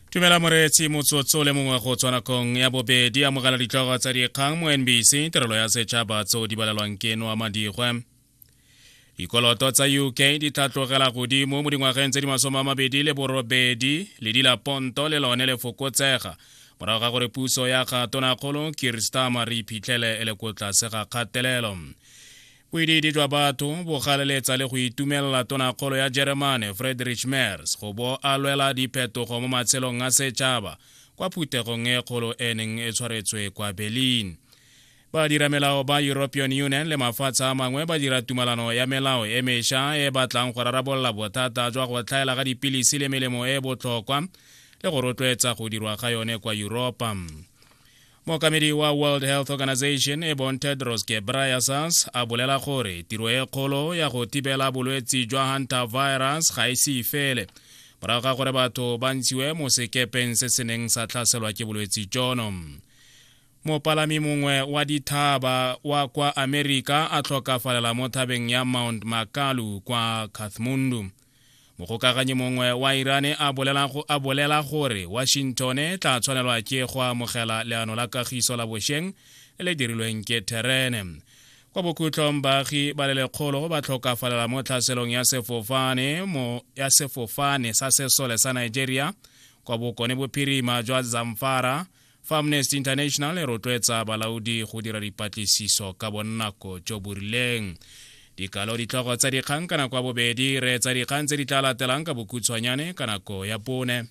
Tumela moreetsi, motsotso le mongwe go tswa nakong ya bobedi. Amogela ditlhogo tsa dikgang mo NBC, tirelo ya setšhaba, tseo di balelwang ke Noa Madigwe. Dikoloto tsa UK di tlhatlogela godimo mo dingwageng tse di 28, ledi la ponto le lone le fokotsega morago ga gore puso ya ga tonakgolo Keir Starmer re iphitlhele e le ko tlase ga kgatelelo. Boidiidi jwa batho bo galeletsa le go itumelela tonakgolo ya Jeremane Friedrich Merz go bo a lwela diphetogo mo matshelong a setšhaba kwa phuthegong e kgolo e neng e tshwaretswe kwa Berlin. Badiramelao ba European Union le mafatshe a mangwe ba dira tumalano ya melao e mesha e batlang go rarabolola bothata jwa go tlhaela ga dipilisi le melemo e e botlhokwa le go rotloetsa go dirwa ga yone kwa Yuropa. Mookamedi wa World Health Organization e bong Tedros Ghebreyesus a bolela gore tiro e kgolo ya go thibela bolwetsi jwa hantavirus ga e se fele morago ga gore batho ba ntshiwe mo sekepeng se se neng sa tlhaselwa ke bolwetsi jono. Mopalami mongwe wa dithaba wa kwa Amerika a tlhokafalela mo thabeng ya Mount Makalu kwa Kathmandu. Mogokaganyi mongwe wa Iran a bolela, a bolela gore Washington e tla tshwanelwa ke go amogela leano la kagiso la bosheng le le dirilweng ke Tehran. Kwa bokhutlong baagi ba le lekgolo ba tlhokafalela mo tlhaselong ya sefofane mo ya sefofane sa sesole sa Nigeria kwa bokone bophirima jwa Zamfara Fa Amnesty International e rotloetsa balaodi go dira dipatlisiso ka bonnako jo bo rileng. Dikalo ditlhogo tsa dikgang ka nako ya bobedi, reetsa dikgang tse di tla latelang ka bokhutshwanyane ka nako ya bone.